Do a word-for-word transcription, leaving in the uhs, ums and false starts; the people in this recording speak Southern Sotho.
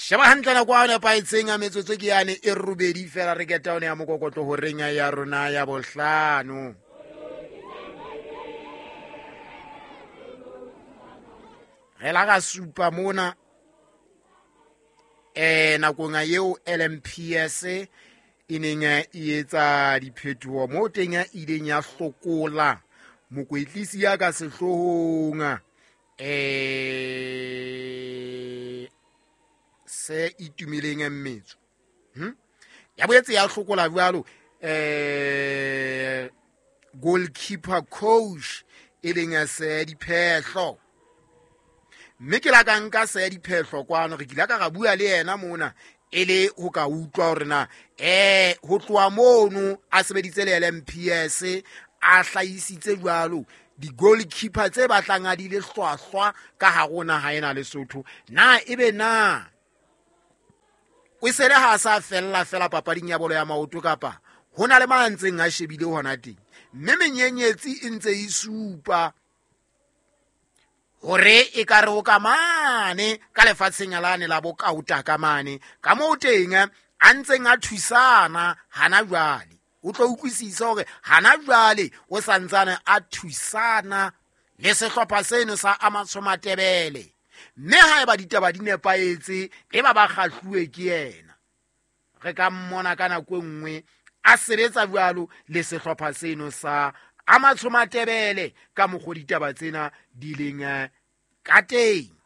Sheba hantle nako a nepahetseng a metsotso ke yane e robedi fela re keta one ya mokokotlo horeng ya rona ya bohlano. Re la ka supa mona eh nakong eo L M P S e neng e etsa diphetoho mo teng e ileng ya hlokola mokwetlisi ya ka sehloohong eh se itumeleng mmetso. Hm? Ya boetse ya hlokola jwalo eh goalkeeper coach e leng se Diphehlo. Mme ke la ka nka se Diphehlo kwano re kile ka ra bua le yena mona e le ho ka utlwa hore na eh ho tloha mono a sebeditse le L M P S a hlahisitse jwalo di-goalkeeper tse batlang a di le hlwahlwa ka hare ho naha ena Lesotho. Na ebe na o sele ha sa fella fela papading ya bolo ya maoto kapa ho na le ma ntseng a shebile hona teng? Mme menyenyetsi e ntse e supa hore e ka re ho ka mane ka lefatsheng lane la bokaota ka mane ka moo teng a ntseng a thusana hana jwale. O tlo utlwisisa hore hana jwale o santsane a thusana le sehlopha seno sa Amatsho Matebele. Mme haeba ditaba di nepahetse e ba ba kgahluwe ke yena, re ka mmona ka nako e nngwe a sebetsa jwalo le sehlopha seno sa Amatsho Matebele ka mokgwa ditaba tsena di leng ka teng.